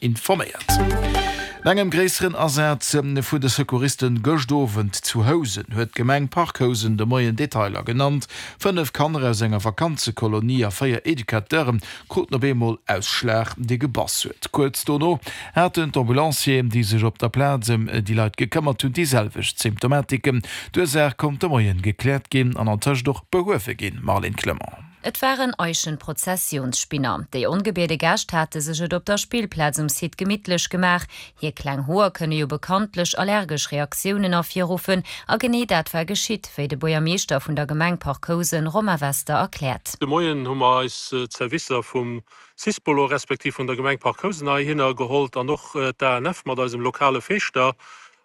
Informéiert. No engem gréisseren Asaz vun de Secouristen gëscht Owend zu Housen huet d'Gemeng Parc Housen de Moien Detailer genannt. 5 Kanner aus enger Vakanzekolonie a 4 Educateure kruten op eemol Ausschlag, dee gebass huet. Kuerz dono haten d'Ambulancieren, déi sech op der Plaz ëm déi Leit gekëmmert hunn, déi selwecht Symptomatiken. D'Ursaach konnt de Moien gekläert ginn an antëscht och behuewe ginn. Marlène Clement. Et waren Eichenprozessionsspinner. Déi ongebiede Gäscht hate sech et op der Spillplaz um Site gemittlech gemaach. Hir kleng Hoer kënne jo bekanntlech allergesch Reaktiounen ervirruffen. A genee dat war geschitt, wéi de Buergermeeschter vun der Gemeng Parc Housen, Romain Wester, erkläert. De Moien hu mer eis d'Servicer vum Sispolo respektiv vun der Gemeng Parc Housen heihinner gehollt an och d'ANF mat eisem lokale Feeschter.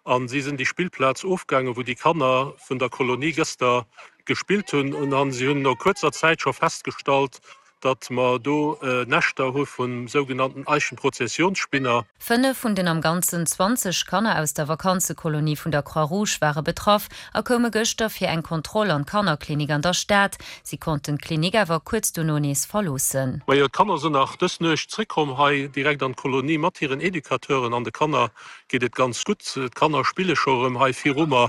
An si sinn déi Spillplaz ofgaangen, wou déi Kanner vun der Kolonie gëster gespillt hunn. An si hunn no kuerzer Zäit scho festgestallt, datt mer do Näschter hu vum sougenannten Eichenprozessionsspinner. 5 vun den am Ganzen 20 Kanner aus der Vakanzekolonie vun der Croix-Rouge ware betraff a koume gëschter fir eng Kontroll an d'Kannerklinik an der Stad. Si konnten d'Klinik awer kuerz dono nees verloossen. Majo, d'Kanner sinn nach dës Nuecht zréckkomm hei direkt an d'Kolonie mat hiren Educateuren an de Kanner geet et ganz gutt. D'Kanner spille scho erëm hei viru mer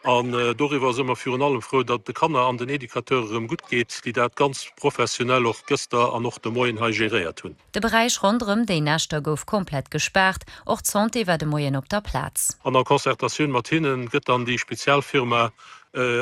an doriwwer si mer virun allem frou, datt et de Kanner an den Educateure erëm gutt geet, déi dat ganz professionell och gëster an och de Moien hei geréiert hunn. De Beräich ronderëm déi Näschter gouf komplett gespaart. Och d'Santé war de Moien op der Plaz. An a Concertatioun mat hinne gëtt dann déi Spezialfirma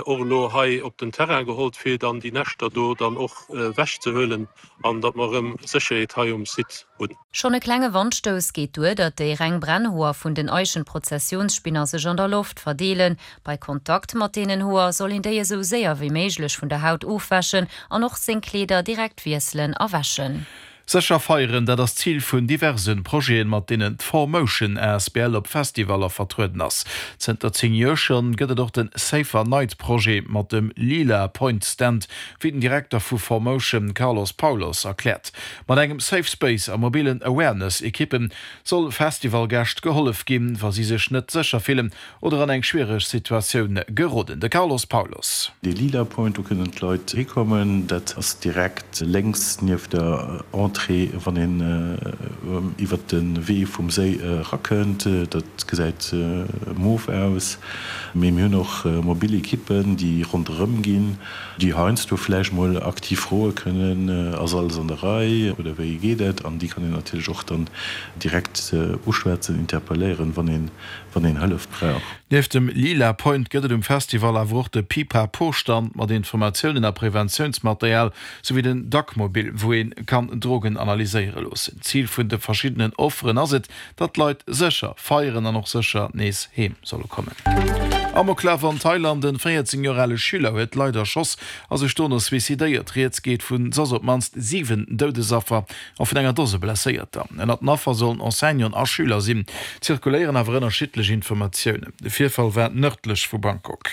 och elo hei op den Terrain gehollt, fir dann déi Näschter do dann och ewechzehuelen an datt mer erëm Sécherheet hei um Site hunn. Schonn e klenge Wandstouss geet duer, datt déi reng Brennhoer vun den Eichenprozessionsspinner sech an der Loft verdeelen. Bei Kontakt mat deenen Hoer soll een déi esou séier wéi méiglech vun der Haut ofwäschen an och seng Kleeder direkt wiesselen a wäschen. Sécher feieren, dat ass d'Zil vun diverse Projeten, mat deenen d'ForMotion asbl op Festivaller vertrueden ass. Zënter 10 Joer schonn gëtt et och de Safer Night Projet mat dem Lila Point Stand, wéi den Direkter vu ForMotion Carlos Paulos erkläert. Mat engem Safe Space a mobilen Awareness-Ekippe soll Festivalgäscht gehollef ginn, wa si sech net sécher fillen oder an eng schwiereg Situatioun geroden. De Carlos Paulos. Dee Lila Point, do kënnen d'Leit hikommen. Dat ass direkt lénks nieft der Entrée, wann een iwwert de Wee vum Séi erakënnt. Dat gesäit mof aus. Mee mir hunn och mobil Ekippen, déi ronderëm ginn. Déi heiansdo vläicht mol aktiv froe kënnen, Ass alles an der Rei oder wéi geet et? An déi kann een natierlech och dann direkt uschwätzen, interpelléieren, wann een, wann een Hëllef brauch. Nieft dem Lila Point gëtt et um Festival awer och de Pipapo-Stand mat Informatiounen a Preventiounsmaterial, souwéi den Dacmobil, wou ee kann Drogen analyséiere loossen. Zil vun de verschiddenen Offeren ass et, Datt d'Leit sécher feieren an och sécher nees heem solle kommen. Amoklaf an Thailand, En 14 Joer ale Schüler huet Leit erschoss a sech dono suicidéiert. Rieds geet vun soss op d'mannst 7 Doudesaffer a vun enger Dose Blesséierter. Ënnert den Affer sollen Enseignanten a Schüler sinn. Zirkuléieren awer ënnerschiddlech Informatiounen. De Virfall war nërdlech vu Bangkok.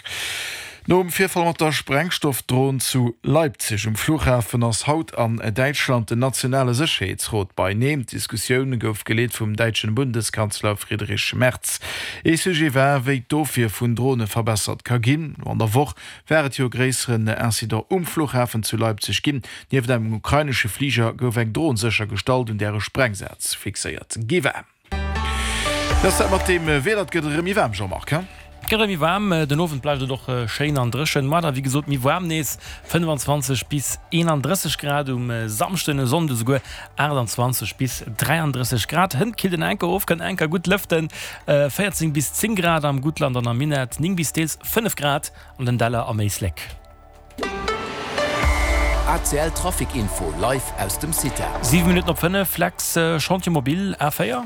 Nom Virfall mat der Sprengstoffdron zu Leipzig um Flughafen ass haut an Däitschland den nationale Sécherheetsrot beineen. D'Diskussioun gouf geleet vum däitschen Bundeskanzler Friedrich Merz. Ee Sujet war, wéi d'Ofwier vun Drone verbessert ka ginn. No an der Woch war et jo e gréisseren Incident um Flughafen zu Leipzig ginn. Nieft engem ukrainesche Fliger gouf eng Dron séchergestallt, un där e Sprengsaz fixéiert gi war. Wéi ass dat mat deem Wieder? Et gëtt erëm méi waarm, Jean-Marc, he? Et gëtt erëm méi waarm, den Owend bleift et och schéin an dréchen. Moar da wéi gesot méi waarm nees, 25 bis 31 Grad um Samschden, e Sonnde souguer 28 bis 33 Grad. Hënt killt en enker of, kënnt enker gutt lëften, 14 bis 10 Grad am Guttland an am Minett, 9 bis deels 5 Grad an den Däller am Éislek. ACL Trafic Info live aus dem CITA. 7 Minutten op 5, Lex, Chantier mobile A4?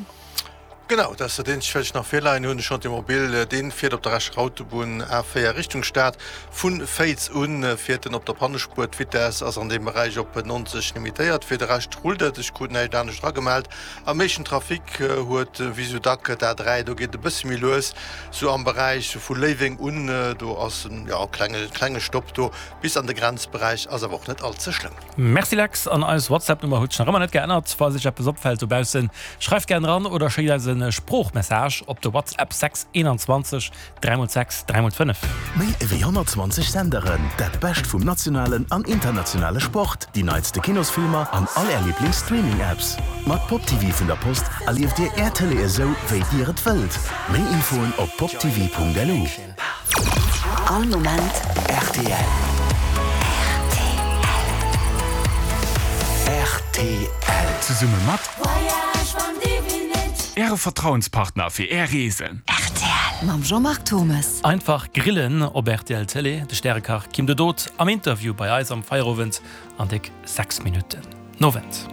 Genau, dat ass dat eenzegt wat ech nach virleien hunn. De Chantier mobile, dee fiert op der Escher Autobunn A4 Richtung Stad. Vu Féiz u fiert en op der Pannespuer. D'Vitess ass an deem Beräich op 90 limitéiert. Fir de Rescht rullt et. Ech krut näischt anescht eragemellt. Am meeschten Trafic huet wéi sou dack d'A3, do geet et e bësse méi lues, sou am Beräich vu Léiweng un. Do ass en jo klenge klenge Stopp do bis an de Grenzberäich, ass awer och net all ze schlëmm. Merci Lex, an eis WhatsApp Nummer huet sech nach ëmmer net geännert. Falls iech eppes opfält dobaussen, schreift gären eran oder schéckt eis e. kuerze Sproochmessage op de WhatsApp 6 21 3 x 6 3 x 5. Méi ewéi 120 Senderen, dat Bescht vum nationalen an internationale Sport, déi neitste Kinosfilmer an all Är Liiblings-Streaming-Apps. Mat Pop TV vun der Post erlieft Dir Är Tëlee esou, wéi Dir et wëllt. Méi Infoen op poptv.lu. All Moment rtl. Rtl. Zesumme mat. Äre Vertrauenspartner fir Är Reesen. Rtl mam Jean-Marc Thommes. Einfach grillen op rtl Télé, de Stärekach Kim de Dood am Interview bei eis am Feierowend an déck 6 Minutten. Nowend.